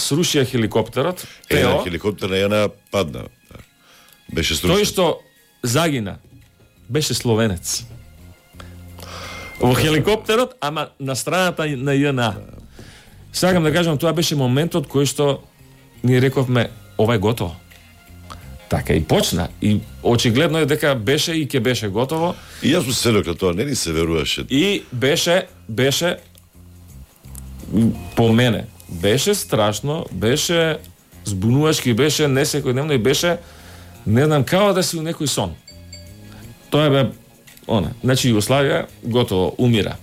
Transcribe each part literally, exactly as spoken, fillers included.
срушија хеликоптерот. Е, Тео, хеликоптер на една падна. Да. Беше струшен. тој што загина беше словенец. Во хеликоптерот, ама на страната на ЈНА. Сакам да кажам, тоа беше моментот кој што ние рековме ова е готово. Така и почна. И очигледно е дека беше и ќе беше готово. И јас му се на тоа, не ни се веруваше. И беше, беше по мене, беше страшно, беше збунувачки, беше не секојдневно и беше, не знам, као да си у некој сон. Тоа бе, она, значи Југославија готово, умира.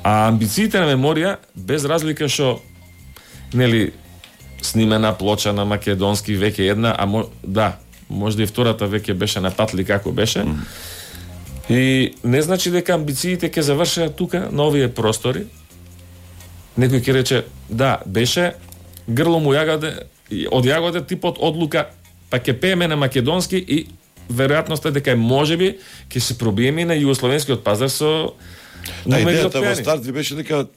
А амбициите на Меморија, без разлика што, нели, снимена плоча на македонски веќе една, а мо, да, можда и втората веќе беше на патли како беше. Mm. И не значи дека амбициите ќе завршат тука, на овие простори. Некој ќе рече, да, беше грло му јагаде, од јагоде типот одлука, па ќе пееме на македонски и веројатноста е дека можеби ќе се пробиеме и на југословенскиот пазар со Да, идејата во старт ви беше дека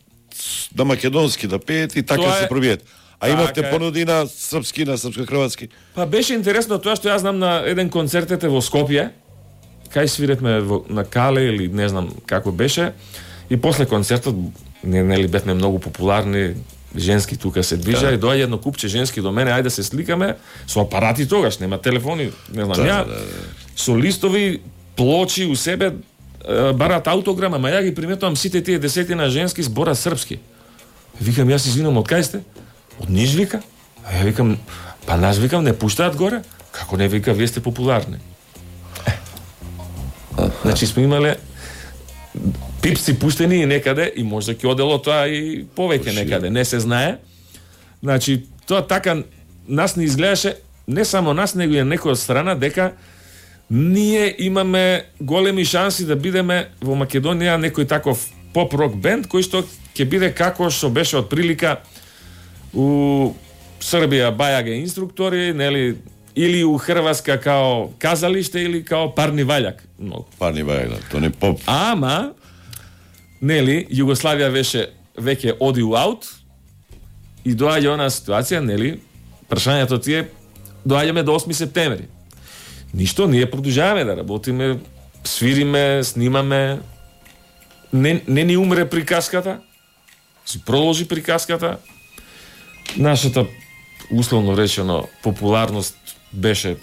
на македонски да пеете и така Тоа се е- пробиете. А така имавте е. понуди на српски, на српско-хрватски. Па беше интересно тоа што јас знам на еден концертете во Скопје, кај свиретме во, на Кале или не знам како беше, и после концертот не нели бевме многу популарни, женски тука се движа Да. и доаѓа едно купче женски до мене, ајде да се сликаме со апарати тогаш, нема телефони, не знам Да, ја, да, да. со листови, плочи у себе, е, барат аутограм, ама ја ги приметувам сите тие десетина женски збора српски. Викам, јас извинам, од кај сте? Од Ниш, вика. А ја викам, па нас, викам, не пуштаат горе? Како не, вика, вие сте популарни. Значи сме имале пипци пуштени и некаде и можда ќе одело тоа и повеќе некаде, не се знае. Значи, тоа така нас не изгледаше, не само нас, него и некој од страна, дека ние имаме големи шанси да бидеме во Македонија некој таков поп-рок бенд, кој што ќе биде како што беше од прилика у Србија бајаге инструктори, нели, или у Хрватска као казалиште или као парни ваљак. Многу. Парни бајак, да, тоа не поп. Ама, нели, Југославија беше веќе оди у аут и доаѓа она ситуација, нели, прашањето ти е, доаѓаме до осми септември. Ништо, ние продолжаваме да работиме, свириме, снимаме, не, не ни умре приказката, си продолжи приказката, нашата, условно речено, популарност беше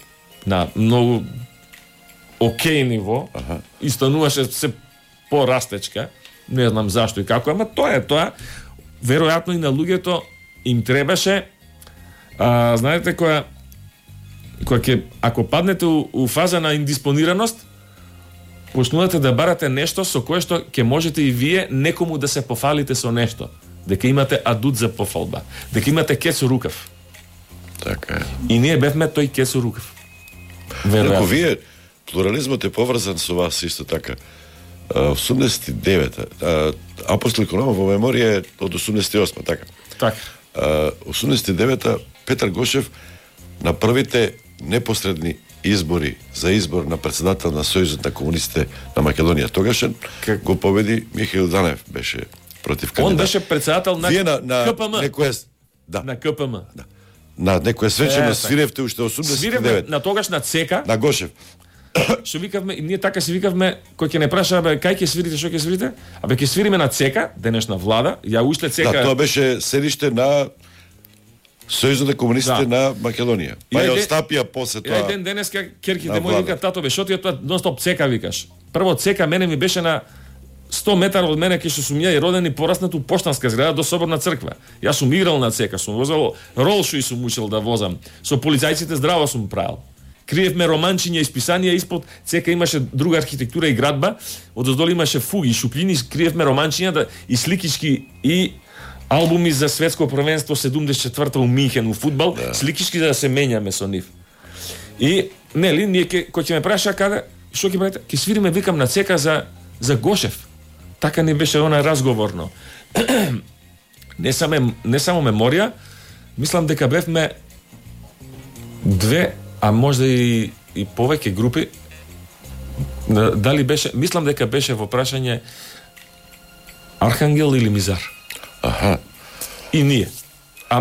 на многу окей ниво, Аха. и стануваше се порастечка, не знам зашто и како, ама тоа е тоа. Веројатно и на луѓето им требаше, а, знаете, која која ќе, ако паднете у, у фаза на индиспонираност, почнувате да барате нешто со кое што ќе можете и вие некому да се пофалите со нешто. Дека имате адут за пофалба. Дека имате кесо рукав. Така е. И ние бевме тој кесо рукав. Ако Веројатно. вие, плурализмот е поврзан со вас исто така. А, осумдесет и девета. а, Апостол Иконома во Меморија е од осумдесет и осма, така. Така. А, осумдесет и девета Петар Гошев на првите непосредни избори за избор на председател на Сојузот на комунистите на Македонија тогашен, Как? го победи Михаил Данев, беше против кандидат. Он беше председател на Вие на, на КПМ. некоја да, На КПМ. да. На некоја свечено Е, свиревте уште осумдесет и Свиревме девета на тогаш на ЦЕКА, на Гошев. што викавме, и ние така си викавме, кој ќе не праша, бе, кај ќе свирите, што ќе свирите? Абе, ќе свириме на ЦЕКА, денешна влада, ја уште ЦЕКА... Да, тоа беше седиште на Сојузот на комунистите Да. на Македонија. Па И ја ајде- остапија после Ја тоа. ден денеска на керките мои влада. викаат, тато бе, што ти е тоа нон-стоп ЦЕКА викаш? Прво ЦЕКА мене ми беше на сто метара од мене, кај што сум ја и роден и пораснат у поштанска зграда до Соборна црква. Јас сум играл на ЦЕКА, сум возел ролшо и сум учил да возам. Со полицајците здраво сум правил. Криевме романчиња и списанија, испод ЦЕКА имаше друга архитектура и градба, одоздолу имаше фуги и шупљини, криевме романчиња да, и сликички и албуми за светско првенство седумдесет и четврта у Минхен у фудбал, да. Сликички за да се менјаме со нив. И нели ние ке, кој ќе ме праша каде, што ќе правите? Ќе свириме, викам, на ЦЕКА за за Гошев. Така ни беше она разговорно. не само не само Меморија, мислам дека бевме две, а можда и и повеќе групи. Дали беше, мислам дека беше во прашање Архангел или Мизар. Аха. И ние. А